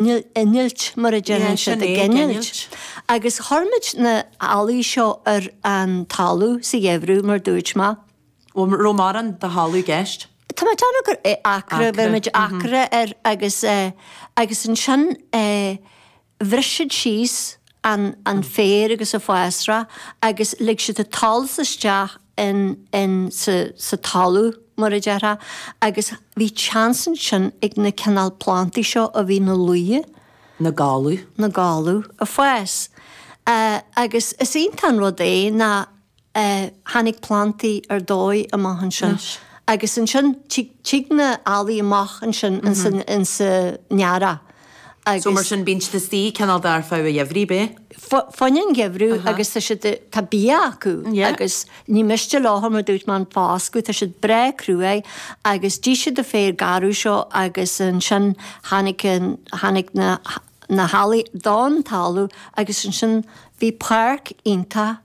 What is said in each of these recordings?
Innilt, mar a Yeah, deireann sin siad, é, ag innilt. innilt. Agus chuir muid na healaí seo ar an talamh sa gheimhreadh, mar dúirt mé. Bhfuil raibh mórán de thalamh i gceist? Tá mé ag déanamh gur acra, Acra, bhí muid acra air agus agus ansin bhris siad síos an an féar agus an fásra agus lig siad an tsolas isteach in in sa sa talamh mar a déarfá agus bhí chance ansin ag na cineál plantaí seo a bhí na luaidhe, Na gáladh. na gáladh a fás. Agus is iontach an rud é ná tháinig plantaí ar dóigh amach ansin. Agus ansin tig tig na ealaí amach ansin insa insa earrach agus. So mar sin bíonn siad istigh cineál de ar feadh an gheimhridh, ab é? Fá choinne an gheimhreadh agus tá siad tá bia acu agus ní miste leo mar dúirt mé an foscadh, tá siad breá cruaidh agus d'ith siad an féar garbh seo agus ansin tháinig an tháinig na na healaí don talamh agus ansin bhí páirc iontach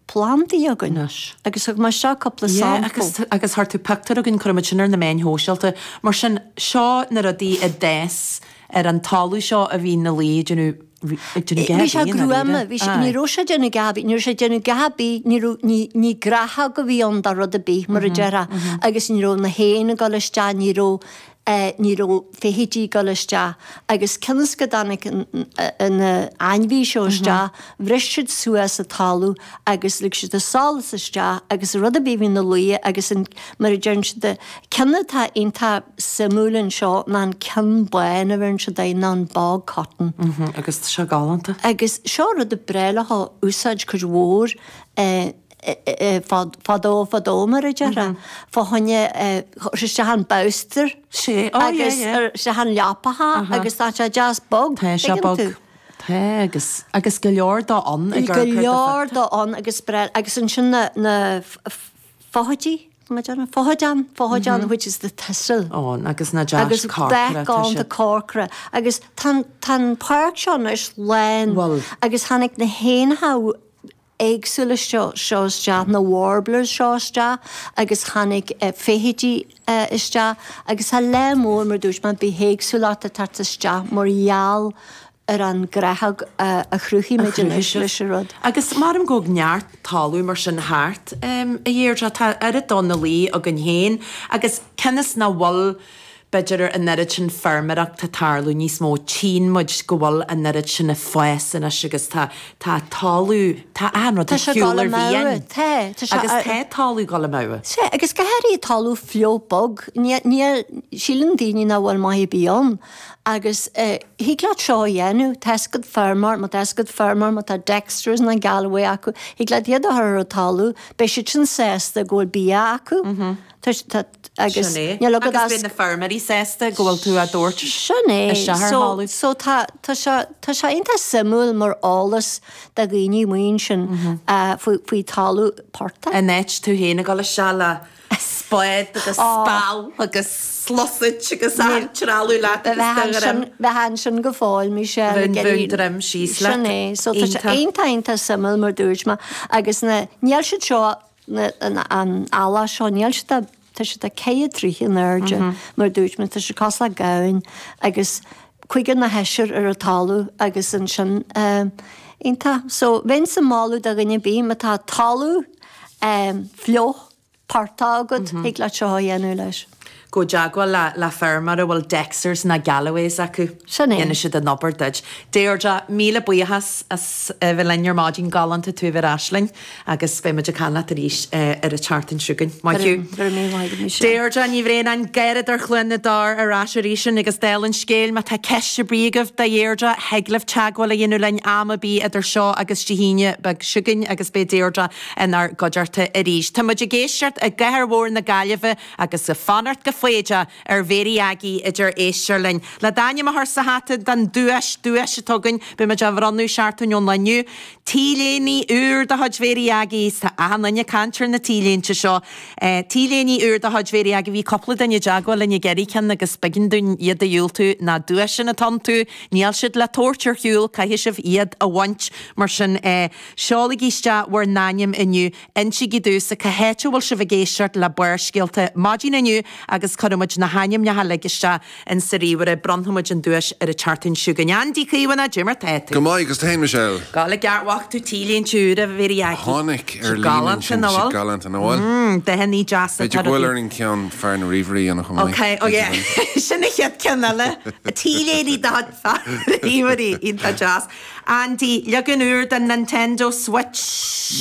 plandaí againn Anois. agus thug mé seo cúpla Yeah, sampla. agus agus chuir tú pictiúr againn, cuirfidh muid sin ar na meáin shóisialta. Mar sin, seo na rudaí a d'fhás ar an talamh seo a bhí na laoi ag déanamh ag déanamh Bhí sé gá bhí gruama, bhí sé, ní Aye. raibh sé ag déanamh gá bhí, ní raibh sé ag déanamh gá bith, ní raibh, ní, ní gnáthóg a bhí ann do rud ar bith, mar a déarfá, agus ní raibh na héin ag dul isteach, ní raibh, ní raibh feithidí ag dul isteach agus cionn is go dtáinig na ainmhí seo isteach, bhris siad suas an talamh agus lig siad an solas isteach agus rud ar bith a bhí ina luí agus an, mar a deireann siad, ceann atá iontach suimiúil anseo ná an ceann bán a bheireann siad air ná an bog cotton. Agus tá sé galánta. Agus seo rud ab bhreá leo a úsáid cuid mhór fadó fadó mar a déarfá, fá choinne chuir isteach an bolster Sé, oh yeah, agus yeah. isteach an leapacha agus tá sé deas bog, Tá sé tuigeann bog. tú. Tá agus, agus go leor dó ann ag Go amharc ar do leor phictiúr. dó ann agus breá, agus ansin na, na feithidí, má déarfainn, feothadán, feothadán which is the thistle. Ann agus na deas Agus corcra, dath tá galánta siad. corcra agus tá an, tá an páirc seo anois lán Bhfuil. agus tháinig na héanacha éagsúla seo isteach, na warblers seo isteach agus tháinig feithidí isteach agus tá lear mór, mar dúirt mé, bithéagsúlacht ag teacht isteach mar gheall ar an gnáthóg a chruthaigh muid anois leis an rud. Agus maram go bhfuil neart talamh mar sin thart, a Dheirdre, tá oiread dó na luí againn féin agus cionn is nach bhfuil B'fhéidir an oiread sin feirmeoireacht ag tarlú níos mó, tchíonn muid go bhfuil an oiread sin ag fás anois agus tá, tá talamh, tá achan rud Tá ar sé ag shiúl dul ar amú, mhian. tá, tá sé Agus ar. tá talamh ag dul amú. Sea, agus go háirithe talamh fliuch bog, ní, ní, síleann daoine nach bhfuil maith ar bith ann agus thig leat seo a dhéanamh, tá 'fhios agat feirmeoir, má tá 'fhios agat feirmeoir, má tá Dexters nó Galloway acu, thig leat iad a chur ar an talamh, beidh siad sin sásta go bhfuil bia acu. Tá, tá, agus Sin é. níl agat Agus as. beidh na feirmeoirí sásta go bhfuil tú á dtabhairt Sin é. isteach ar So, thalamh. so tá, tá sé, tá sé iontach suimiúil mar eolas do dhaoine amuigh ansin faoi, faoi talamh portaigh. In áit tú féin ag dul isteach le spád agus speal agus sluasaid agus achan trealamh leat agus do dhroim. Bheifeá ansin go fóill, Michelle, ag Bheinn, iarraidh. bheinn droim síos leat. Sin é. So tá sé Iontach. iontach, iontach suimiúil mar dúirt mé agus na, níl siad seo an ealach seo, níl siad ach, tá siad ach ceithre troigh in airde, mar a dúirt mé, tá siad cosúil le gamhain agus cúigear nó seisear ar an talamh agus ansin iontach. So bheinnse ag moladh do dhuine ar bith má tá talamh fliuch portach agat, thig leat seo a dhéanamh leis. Gabh i dteagmháil le le feirmeoir a bhfuil Dexters ná Galloways acu. Sin é. Dhéanfaidh siad an obair duit. Deirdre, míle buíochas as a bheith linn ar maidin. Galánta tú a bheith ar ais linn agus beidh muid ag caint leat arís ar an tseachtain seo chugainn. Maith thú. Go raibh míle maith agat, Michelle. Deirdre Ní Bhraonáin, Garradóir Chluain na dTor ar ais arís linn agus dála an scéil, má tá ceist ar bith agaibh do Dheirdre, thig libh teagmháil a dhéanamh linn am ar bith idir seo agus Dé hAoine beag seo chugainn agus beidh Deirdre inár gcuideachta arís. Tá muid ag éisteacht i gcathair mhór na Gaillimhe agus ag fanacht go foighdeach ar Mhéirí Aggie a deir éisteoir linn. Le d'ainm a chur sa hata don duais, duais atá againn, beidh muid á bhronnadh seachtain ón lá inniu. T-léine úr de chuid Mhéirí Aggie, tá achan duine ag caint ar na T-léinte seo. T-léine úr de chuid Mhéirí Aggie, bhí cúpla duine i dteagmháil linn ag iarraidh ceann agus b'éigean dúinn iad a dhiúltú, na duaiseanna atá iontu, níl siad le tabhairt ar shiúl, caithfidh sibh iad a bhaint. Mar sin, seolaigí isteach bhur n-ainm inniu. Insígí domhsa cá háit a bhfuil sibh ag éisteacht le Barrscéalta maidin inniu agus. agus cuirfidh muid na hainmneacha uilig isteach in sa ríomhaire. Bronnfaidh muid an duais ar an tseachtain seo chugainn. Andy Caomhánach, cad é mar tá tú? Go maith, agus tú fhéin, Michelle? Go le ceart bhfaca tú T-léinte úra a Mhéirí Aggie. Chonaic ar líne ansin, tá siad galánta, nach bhfuil? Mm, dathannaí deasa. B'fhéidir go bhfuil orainn ceann fear na ríomhairí a dhéanamh chomh maith. Ok, oh yeah, sin an chéad ceann eile. T-léirí do fear na ríomhairí, iontach deas. Andy, leagan úr den Nintendo Switch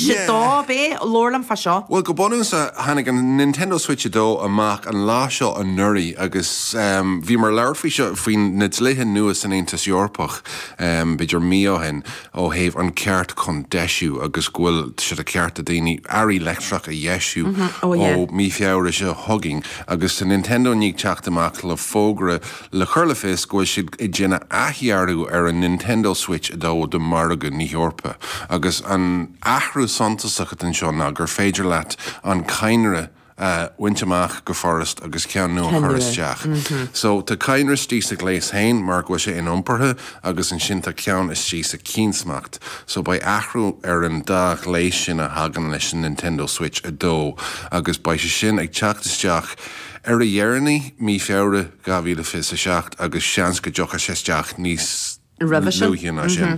2, ab é? Labhair liom fá seo. Bhuel, go bunúsach, tháinig an Nintendo Switch 2 amach an lá seo anuraidh agus bhíomar ag labhairt faoi seo, faoi na dlíthe nua san Aontas Eorpach, b'fhéidir mí ó shin, ó thaobh an ceart chun deisiú agus go bhfuil sé de cheart ag daoine earraí leictreach a dheisiú ó mí Feabhra seo chugainn agus tá Nintendo i ndiaidh teacht amach le fógra le cur le fios go bhfuil siad ag déanamh athdhearadh ar an Nintendo Switch 2 do mhargadh na hEorpa agus an athrú suntasach atá anseo ná gur féidir leat an cadhnra a bhaint amach go furast agus ceann nua a chur isteach. So tá cadhnra istigh sa ghléas féin mar go bhfuil sé iniompartha agus ansin tá ceann istigh sa chiansmacht. So beidh athrú ar an dá ghléas sin a thagann leis an Nintendo Switch 2 agus beidh sé sin ag teacht isteach Ar a dheireanaí, mí Feabhra 2027 agus seans go dtiocfaidh sé isteach níos luaithe ná sin.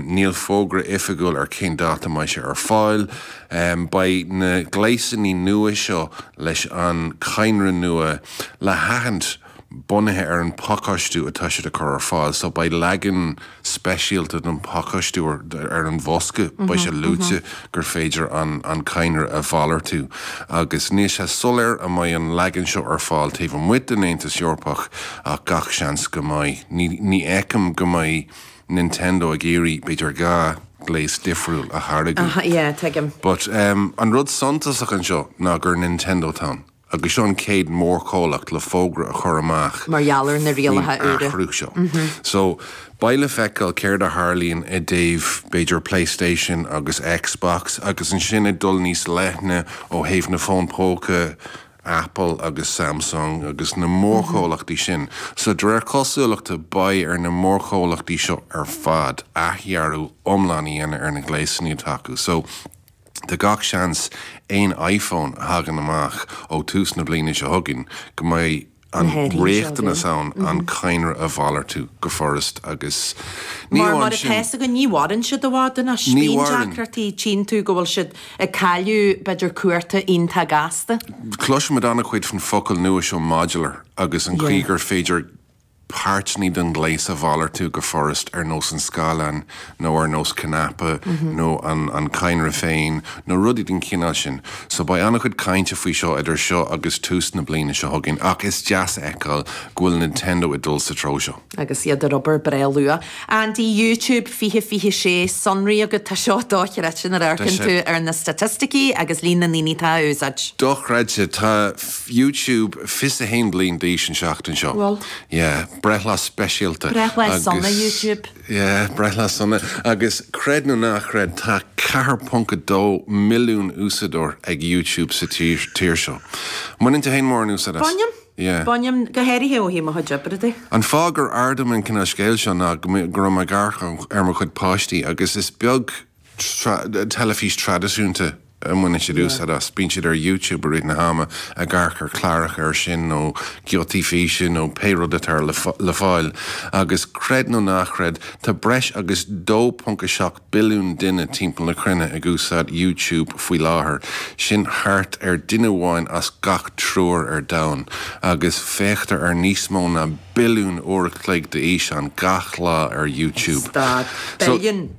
Níl fógra oifigiúil ar cén dáta a mbeidh sé ar fáil. Beidh na gléasanna nua seo leis an cadhnra nua le haithint bunaithe ar an phacáistiú atá siad a chur ar fáil. So beidh leagan speisialta den phacáistiú ar an bhosca, beidh sé luaite gur féidir an cadhnra a mhalartú agus níl sé soiléir an mbeidh an leagan seo ar fáil taobh amuigh den Aontas Eorpach ach gach seans go mbeidh. Ní fheicim go mbeidh Nintendo ag iarraidh b'fhéidir 2 ghléas difriúil a tháirgeadh. Yeah, tuigim. But an rud suntasach anseo ná gur Nintendo atá ann. Agus seo an chéad mhórchomhlacht le fógra a chur amach Mar gheall ar na faoin rialacha úra. athrú seo. So, beidh le feiceáil céard a tharlaíonn i dtaobh, b'fhéidir, PlayStation agus Xbox agus ansin ag dul níos leithne ó thaobh na fón póca, Apple agus Samsung agus na mórchomhlachtaí sin. So, de réir cosúlachta, beidh ar na mórchomhlachtaí seo ar fad athdhearadh iomlán a dhéanamh ar na gléasanna atá acu. So. Tá gach seans aon iPhone a thagann amach ó tús na bliana seo chugainn go mbeidh an riachtanas ann an cadhnra a mhalartú go furast agus ní Mar mar atá fhios againn ní mhaireann siad i bhfad anois. Ní Bíonn mhaireann. deacrachtaí, tchíonn tú go bhfuil siad ag cailleadh b'fhéidir cuarta iontach gasta. Cloisimid an-chuid faoin focal nua seo modular agus an chaoi gur féidir páirteanna den ghléas a mhalartú go furast ar nós an scáileán nó ar nós cnaipe nó an cadhnra féin nó rudaí den chineál sin. So beidh an-chuid cainte faoi seo idir seo agus tús na bliana seo chugainn ach is deas a fheiceáil go bhfuil Nintendo ag dul sa treo seo. Agus iad ar obair breá luath. Andy, YouTube 2026, sonraí agat, tá seo dochreidte nuair a amharcann tú ar na staitisticí agus líon na ndaoine atá á úsáid. Dochreidte. Tá YouTube 21 bliain d'aois an seachtain seo. Bhfuil? Yeah, breithlá speisialta. Breithlá sona YouTube. Yeah, breithlá sona. Agus creid nó ná creid, tá 4.2 milliún úsáideoir ag YouTube sa tír seo. Mbaineann tú féin mórán úsáid as? Bainim. Yeah. Bainim, go háirithe ó thaobh mo chuid oibre de. An fáth gur ardaigh mé an cineál scéil seo ná go raibh mé ag amharc ar mo chuid páistí agus is beag teilifís traidisiúnta a mbaineann siad úsáid as. Bíonn siad ar YouTube i rith na hama ag amharc ar chláracha ar sin nó giotaí físe nó pé rud atá le fáil. Agus creid nó ná creid, tá breis agus 2.7 billiún duine timpeall na cruinne ag úsáid YouTube faoi láthair. Sin thart ar duine amháin as gach triúr ar domhan. Agus féachtar ar níos mó ná billiún uair a chloig d'fhíseán gach lá ar YouTube. Stad. Billiún.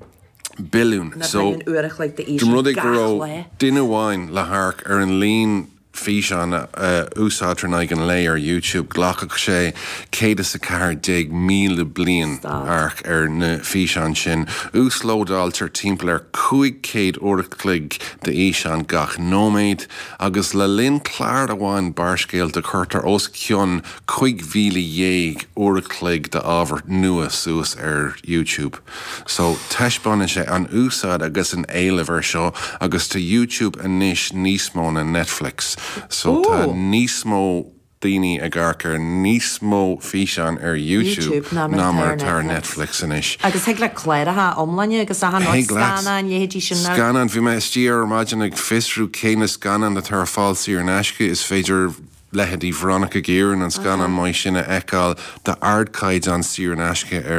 Billiún. Na billiún uair a chloig d'fhíseán gach lá. Dá mba rud é go raibh duine amháin le hamharc ar an líon físeán a úsáidtear in aghaidh an lae ar YouTube, ghlacfadh sé 114,000 bliain amharc ar na físeáin sin. Uaslódáiltear timpeall ar 500 uair a chloig d'fhíseán gach nóiméad, agus le linn clár amháin Barrscéalta cuirtear os cionn 15,000 uair a chloig d'ábhar nua suas ar YouTube. So, taispeánann sé an úsáid agus an éileamh ar seo agus tá YouTube anois níos mó ná Netflix. So, tá níos mó daoine ag amharc ar níos mó físeán ar YouTube ná mar atá ar Netflix anois. Agus thig leat cláracha iomláine agus achan rud, Thig leat. scannáin, leithéidí sin. Scannáin, bhí mé istigh ar maidin ag fiosrú cé na scannáin atá ar fáil saor in aisce, is féidir. leithéidí Veronica Guerin, an scannán maith sin a fheiceáil d'ardchaighdeán saor in aisce ar.